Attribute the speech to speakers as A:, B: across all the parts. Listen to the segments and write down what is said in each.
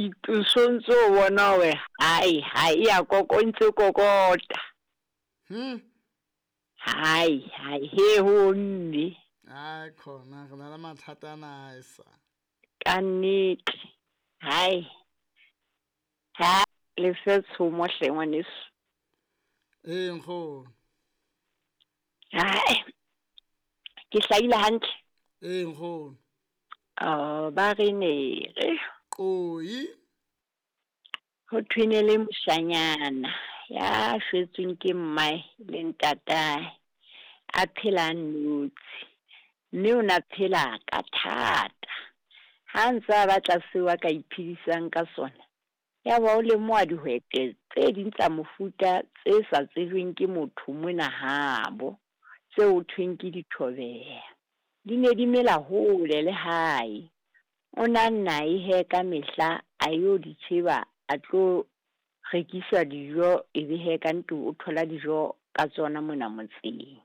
A: O ntso o bona hore hai hai e ya koko e ntse kokota. Hai hai he ho mme.
B: Ai khona re na le mathata ana a sa.
A: Ka nnete. Hai. Ha le fe tshomo hle ngwaneso.
B: Ee nkgono.
A: Hai. Ke hlahile hantle.
B: Ee nkgono.
A: Oh, ba re ne re.
B: Qoi.
A: Ho thwe ne le moshanyana ya shwetsweng ke mmae le ntatae, a phela a nnotshi, mme o na phela ka thata. Ha ntse a batla seo a ka iphedisang ka sona, ya ba o lemoha dihwete tse ding tsa mofuta tse sa tsejweng ke motho mona habo, tseo ho thweng ke dithobeha. Di ne di mela hole le hae. O na nna e he ka mehla a yo di tjheba, a tlo rekisa dijo, e be he ka ntlo o thola dijo ka tsona mona motseng.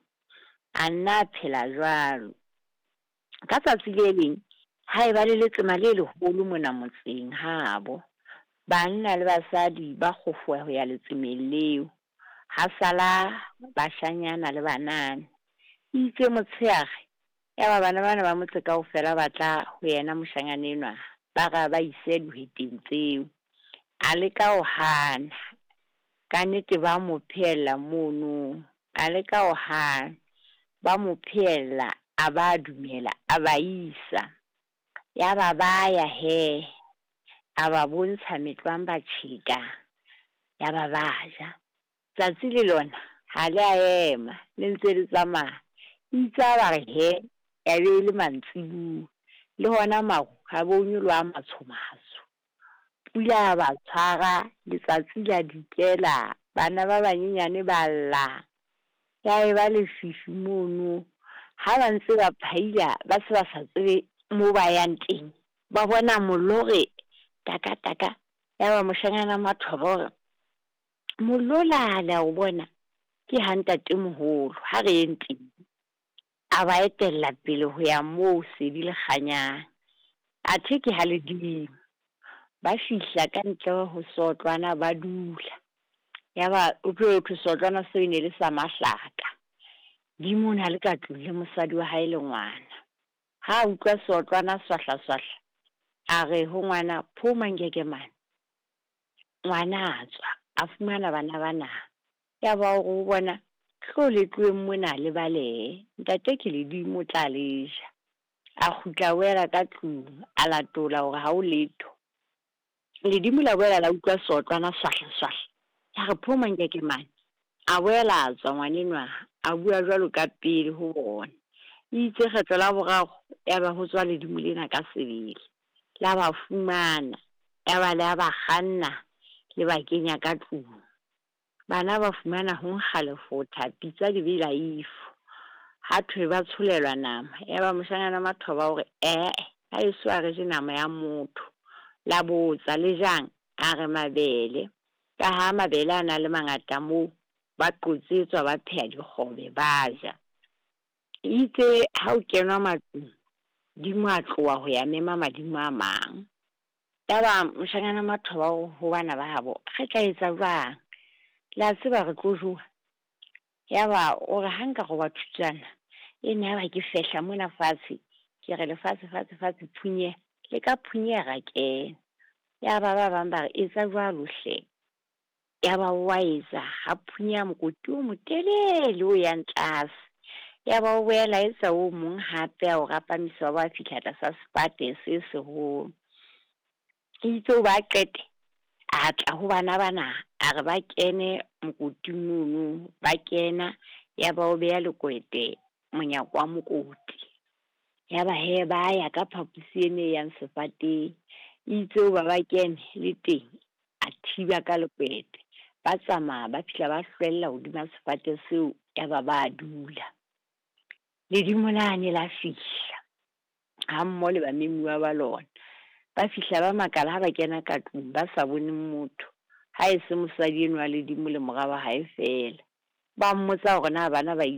A: A nna a phela jwalo. Ka tsatsi le leng, ha eba le letsema le leholo mona motseng habo. Banna le basadi ba kgofoha ho ya letsemeng leo. Ha sala bashanyana le banana. Itse motshehare, ya ba bana bana ba motse kaofela ba tla ho yena moshanyana enwa, ba re ba ise dihweteng tseo. A leka ho hana, ka nnete ba mo phehella mono. A leka ho hana, ba mo phehella, a ba dumela, a ba isa. Ya ba ba ya he, a ba bontsha metlwang ba tjheka, ya ba ba ja. Tsatsi le lona ha le a ema, le ntse le tsamaya. Itse ha ba re he, ya be e le mantsibuya. Le hona maru ha bo nyoloha a matsho-matsho. Pula ya ba tshwara, letsatsi la dikela, bana ba banyenyane ba lla. Ya eba lefifi mono. Ha ba ntse ba phaila, ba se ba sa tsebe moo ba yang teng. Ba bona mollo o re taka taka. Ya ba moshanyana Mathoba o re, mollo la le a o bona, ke ha ntatemoholo, ha re yeng teng. A ba etella pele ho ya moo sedi le kganyang. Athe ke ha ledimo. Ba fihla ka ntle ho seotlwana ba dula. Ya ba o tlo thwe seotlwana seo e ne le sa mahlaka. Dimo o na le ka tlung le mosadi wa hae le ngwana. Ha a utlwa seotlwana swahla swahla, a re ho ngwana, phoma nkeke mane. Ngwana a tswa, a fumana bana bana. Ya ba o re ho bona, tlo le tloheng mona le balehe. Ntate ke ledimo o tla le ja. A kgutla a boela ka tlung, a latola hore ha ho letho. Ledimo la boela la utlwa seotlwana swahla swahla. Ya re phoma nkeke mane. A boela a tswa ngwanenwa, a bua jwalo ka pele ho bona. Itse kgetlo la boraro, ya ba ho tswa ledimo lena ka sebele. La ba fumana, ya ba le a ba kganna, le ba kenya ka tlung. Bana ba fumana ho nkga lefotha, pitsa di bela ifo. Ha thwe ba tsholelwa nama, ya ba moshanyana Mathoba o re, ee, ha eso a re je nama ya motho. La botsa, le jang? A re mabele. Ka ha mabele a na le mangata moo, ba qotsetswa ba pheha dikgobe ba ja. Itse ha o kenwa matlung, dimo a tloha ho ya mema madimo a mang. Ya ba moshanyana Mathoba o ho bana ba habo, re tla etsa jwang? Le a tseba re tlo jowa. Ya ba o re ha nka roba thutwana, e ne ya ba ke fehla mona fatshe, ke re lefatshe fatshe fatshe phunyeha, le ka phunyeha ra kena. Ya ba ba bang ba re etsa jwalo hle. Ya ba wa etsa, ha phunyeha mokoti o motelele o yang tlase. Ya ba o boela etsa o mong hape a o rapamisa wa ba fihla tlasa sefate se seholo. Itse o ba qete, a tla ho bana bana, a re ba kene mokoting mono, ba kena, ya ba o beha lekwete monyako wa mokoti. Ya ba he ba ya ka phaposi ene e yang sefateng. Itse o ba ba kene le teng, a thiba ka lekwete. Ba tsamaya ba fihla ba hlwella hodima sefate seo, ya ba ba dula. Ledimo lane la fihla, ha mmoho le bamemuwa ba lona. Ba fihla ba makala ha ba kena ka tlung, ba sa bone motho. Ha e se mosadi enwa wa ledimo le mora wa hae feela. Ba mmotsa hore na bana ba ile.